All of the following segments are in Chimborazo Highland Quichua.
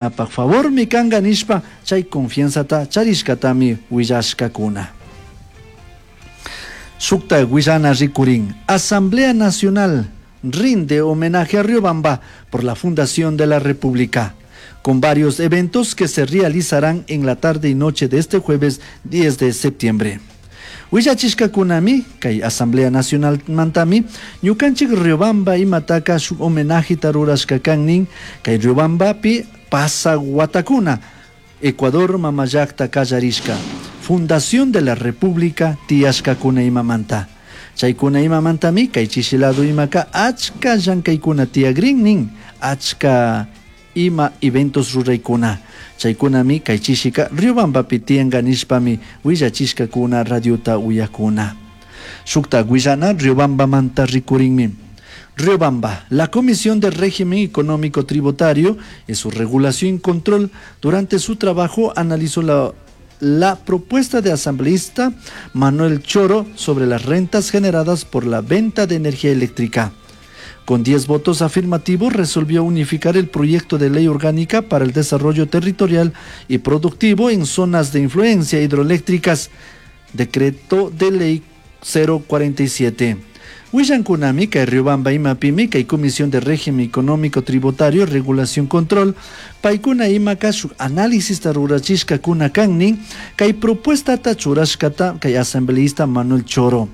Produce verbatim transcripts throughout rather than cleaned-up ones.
Favormi kanga nishpa chay confianzata charishkatami willashkakuna. Shukta willana rikurin Asamblea Nacional rinde homenaje a Riobamba por la Fundación de la República, con varios eventos que se realizarán en la tarde y noche de este jueves diez de septiembre. Willachishkakunami kay Asamblea Nacional mantami ñukanchik Riobamba imataka shuk homenajeta rurashka kan nin kay Riobambapi pasa watakuna Ecuador mamallakta kallarishka Fundación de la República tiyashkakuna imamanta. Chaykuna imamantami kay chishilado imaka achka llankaykuna tiyagrin nin achka ima eventos ruraykuna. Chaykunami kay chishika Riobambapi tiyanka nishpami willachishkakuna radiota uyakuna. Shukta willana Riobambamanta rikurinmi. Riobamba, la Comisión de Régimen Económico Tributario y su regulación y control durante su trabajo analizó la, la propuesta de asambleísta Manuel Choro sobre las rentas generadas por la venta de energía eléctrica. Con diez votos afirmativos resolvió unificar el proyecto de ley orgánica para el desarrollo territorial y productivo en zonas de influencia hidroeléctricas, decreto de ley cero cuarenta y siete. Willankunami kay Riobamba imapimi kay Comisión de Régimen Económico Tributario, Regulación Control, paykuna imaka shuk análisis rurachishkakuna kan nin kay propuestata churashkata kay asambleísta Manuel Choro.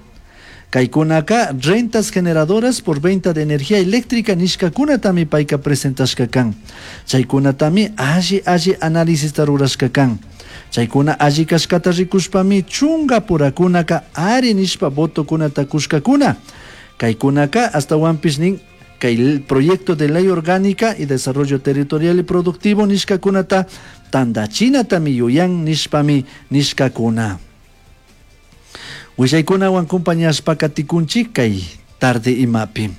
Kaykunaka rentas generadoras por venta de energía eléctrica nishkakunatami payka presentashka kan. Chaykunatami alli alli análisis rurashka kan. Chaykuna alli kashkata rikushpami chunga purakunaka ari nishpa votokunata kushkakuna. Kaykunaka astawanpish nin kay proyecto de ley orgánica y desarrollo territorial y productivo nishkakunata tandachinatami yuyan nishpami nishkakuna. Willaykunawan compañashpa katikunchik kay tarde imapi.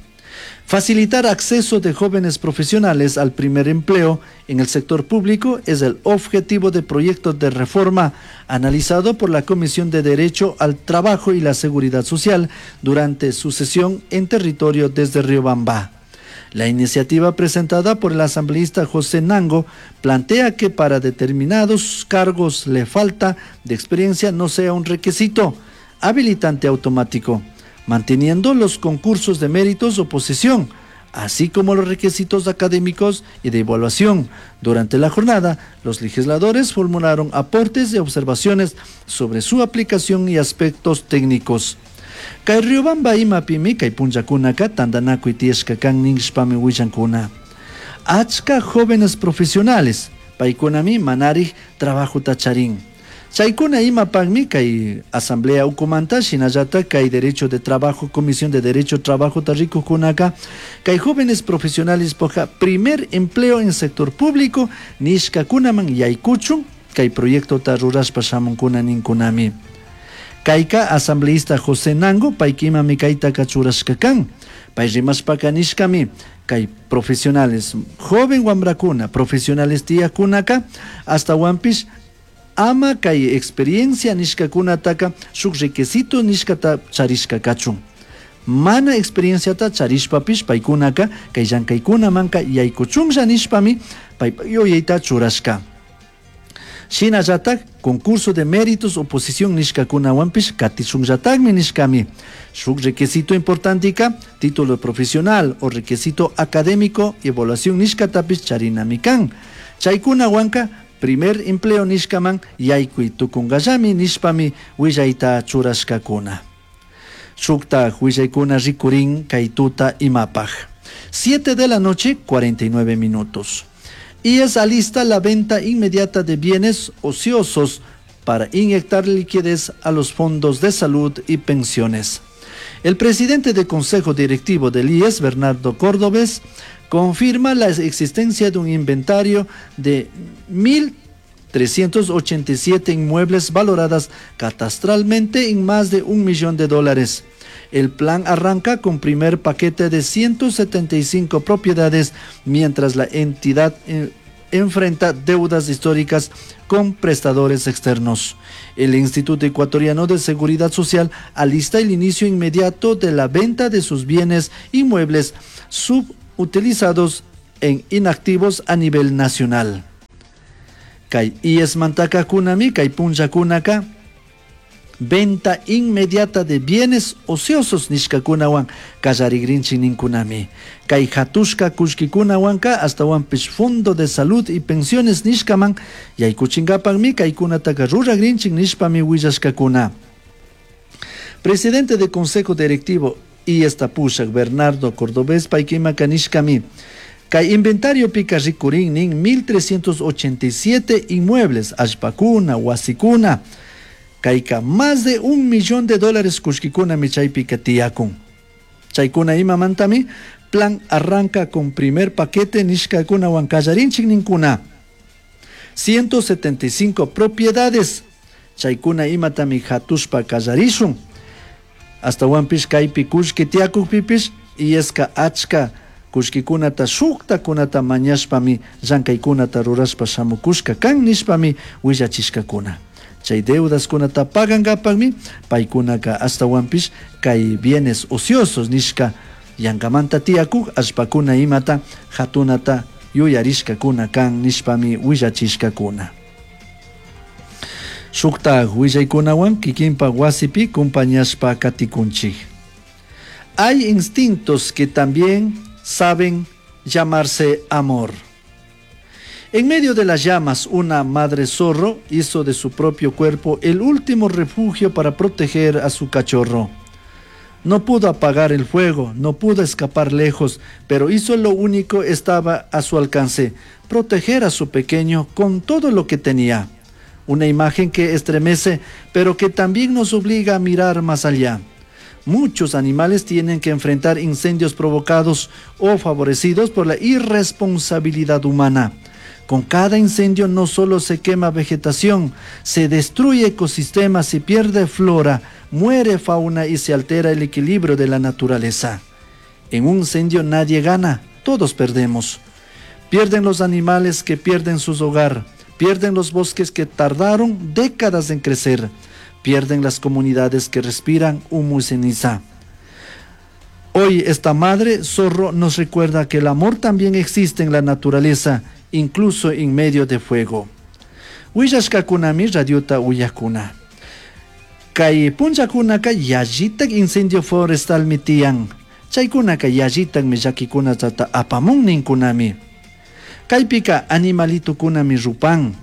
Facilitar acceso de jóvenes profesionales al primer empleo en el sector público es el objetivo de proyecto de reforma analizado por la Comisión de Derecho al Trabajo y la Seguridad Social durante su sesión en territorio desde Riobamba. La iniciativa presentada por el asambleísta José Nango plantea que para determinados cargos le falta de experiencia no sea un requisito habilitante automático, manteniendo los concursos de méritos o posesión, así como los requisitos académicos y de evaluación. Durante la jornada, los legisladores formularon aportes y observaciones sobre su aplicación y aspectos técnicos. Kay Riobamba imapimi kay punllakunaka tandanakuy tiyashka kan nishpami willankuna. Achka jóvenes profesionales, paykunami manarij trabajota charin. Chaykuna imapakmi kay asamblea ukumanta shinallata kay derecho de trabajo, comisión de derecho trabajo tarrikukunaka, kay jóvenes profesionales poja primer empleo en sector público nishkakunaman yaykuchun kay proyecto ta rurashpa shamunkuna ninkunami. Kayka asambleísta José Nango paykimami kayta kachurashka kan. Pay rimashpaka nishkami kay profesionales joven wambrakuna profesionales tiyakunaka hasta wampish ama kay experiencia nishkakunataka shuk requisito nishkata charishka kachun. Mana experienciata charishpapish paykunaka kay llankaykunamanka yaykuchunlla nishpami pay yuyayta churashka. Shinallatak concurso de méritos oposición nishkakunawanpish katishunllatakmi nishkami. Shuk requisito importantika título profesional o requisito académico y evaluación nishkatapish charinami kan. Chaykunawanka primer empleo nishkaman yaykuy tukunkallami nishpami willayta churashkakuna. Shukta willaykuna rikurin kay tuta imapaj. Siete de la noche, cuarenta y nueve minutos. Y es alista la venta inmediata de bienes ociosos para inyectar liquidez a los fondos de salud y pensiones. El presidente del Consejo Directivo del I E S, Bernardo Cordovez, confirma la existencia de un inventario de mil trescientos ochenta y siete inmuebles valoradas catastralmente en más de un millón de dólares. El plan arranca con primer paquete de ciento setenta y cinco propiedades, mientras la entidad, eh, enfrenta deudas históricas con prestadores externos. El Instituto Ecuatoriano de Seguridad Social alista el inicio inmediato de la venta de sus bienes inmuebles subutilizados en inactivos a nivel nacional. Kay IESmantakakunami kay punllakunaka venta inmediata de bienes ociosos nishkakunawan kallarigrinchik ninkunami. Kay hatushka kullkikunawanka ashtawanpish Fondo de Salud y Pensiones nishkaman yaykuchinkapakmi kaykunataka ruragrinchik nishpami willashkakuna. Presidente del Consejo Directivo IESta pushak Bernardo Cordobés paykimaka nishkami kay inventariopika rikurin nin mil trescientos ochenta y siete inmuebles allpakuna wasikuna kayka más de un millón de dólares kullkikunami chaypika tiyakun. Chaykuna imamantami plan arranca con primer paquete nishkakunawan kallarinchik ninkuna. ciento setenta y cinco propiedades chaykuna imatami hatushpa kallarishun. Ashtawanpish kaypi kullki tiyakukpipish IESka achka kullkikunata shuktakunata mañashpami llankaykunata rurashpa shamukushka kan nishpami willachishkakuna. Chay deudaskunata pagankapakmi paykunaka ashtawanpish kay bienes ociosos nishka yankamanta tiyakuk allpakuna imata hatunata yuyarishkakuna kan nishpami willachishkakuna. Shukta willaykunawan kikinpa wasipi kumpañashpa katikunchik. Hay instintos que también saben llamarse amor. En medio de las llamas, una madre zorro hizo de su propio cuerpo el último refugio para proteger a su cachorro. No pudo apagar el fuego, no pudo escapar lejos, pero hizo lo único que estaba a su alcance, proteger a su pequeño con todo lo que tenía. Una imagen que estremece, pero que también nos obliga a mirar más allá. Muchos animales tienen que enfrentar incendios provocados o favorecidos por la irresponsabilidad humana. Con cada incendio no solo se quema vegetación, se destruye ecosistemas, se pierde flora, muere fauna y se altera el equilibrio de la naturaleza. En un incendio nadie gana, todos perdemos. Pierden los animales que pierden su hogar, pierden los bosques que tardaron décadas en crecer, pierden las comunidades que respiran humo y ceniza. Hoy esta madre zorro nos recuerda que el amor también existe en la naturaleza, incluso en medio de fuego. Willashkakunami radiota uyakuna. Kay punllakunaka yallitak incendio forestal mitiyan. Chaykunaka yallitak millakikunata apamun ninkunami. Kaypika animalitukunami rupan,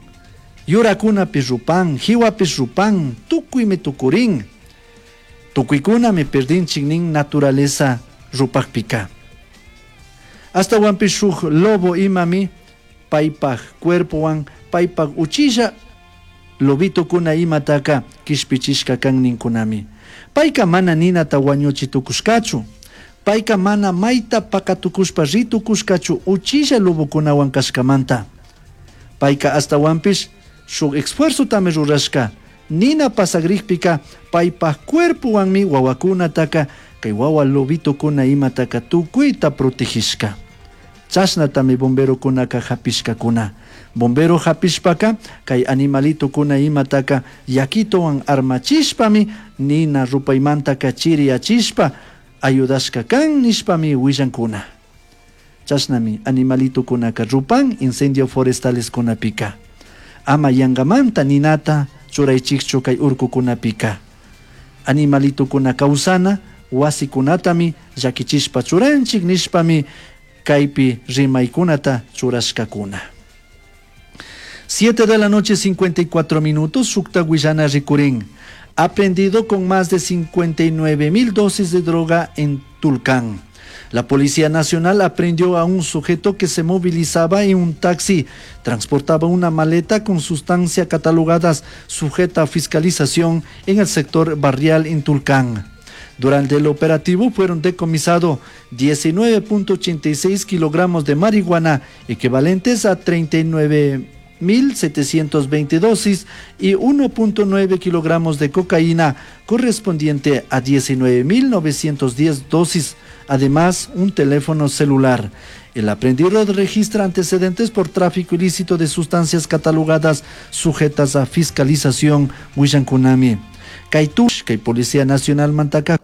yurakunapi rupan, hiwapi rupan, tukuymi tukurin. Tukuykunami perdinchik nin naturaleza rupakpika. Hasta wampi shuk lobo imami paypaj cuerpowan paypaj uchilla lobitokuna imataka kishpichishka kan ninkunami. Payka mana ninata wañuchi tukushkachu. Payka mana mayta pakatukushpa ritukushkachu uchilla lobokunawan kashkamanta. Payka hasta wampish shuk esfuerzotami rurashka. Nina pasagrikpika paypaj cuerpowanmi wawakunataka kay wawa lobitokuna imataka tukuyta protegishka. Chashnatami bomberokunaka hapishkakuna. Bombero hapishpaka kay animalitokuna imataka yakitowan armachishpami nina rupaymantaka chiriyachishpa ayudashka kan nishpami willankuna. Chashnami animalitokunaka rupan incendio forestales kunapika. Ama yangamanta ninata churaychikchu kay urkukunapika. Animalitokuna kawsana wasikunatami llakichishpa churanchik nishpami kaypi rimaykunata churashkakuna. Siete de la noche, cincuenta y cuatro minutos, Sukta Guillana Ricurín. Aprendido con más de cincuenta y nueve mil dosis de droga en Tulcán. La Policía Nacional aprehendió a un sujeto que se movilizaba en un taxi. Transportaba una maleta con sustancia catalogadas sujeta a fiscalización en el sector barrial en Tulcán. Durante el operativo fueron decomisados diecinueve punto ochenta y seis kilogramos de marihuana, equivalentes a treinta y nueve mil setecientos veinte dosis y uno punto nueve kilogramos de cocaína, correspondiente a diecinueve mil novecientos diez dosis, además un teléfono celular. El aprendido registra antecedentes por tráfico ilícito de sustancias catalogadas sujetas a fiscalización. Huillankunami. Kaitush, kay Policía Nacional Mantaca.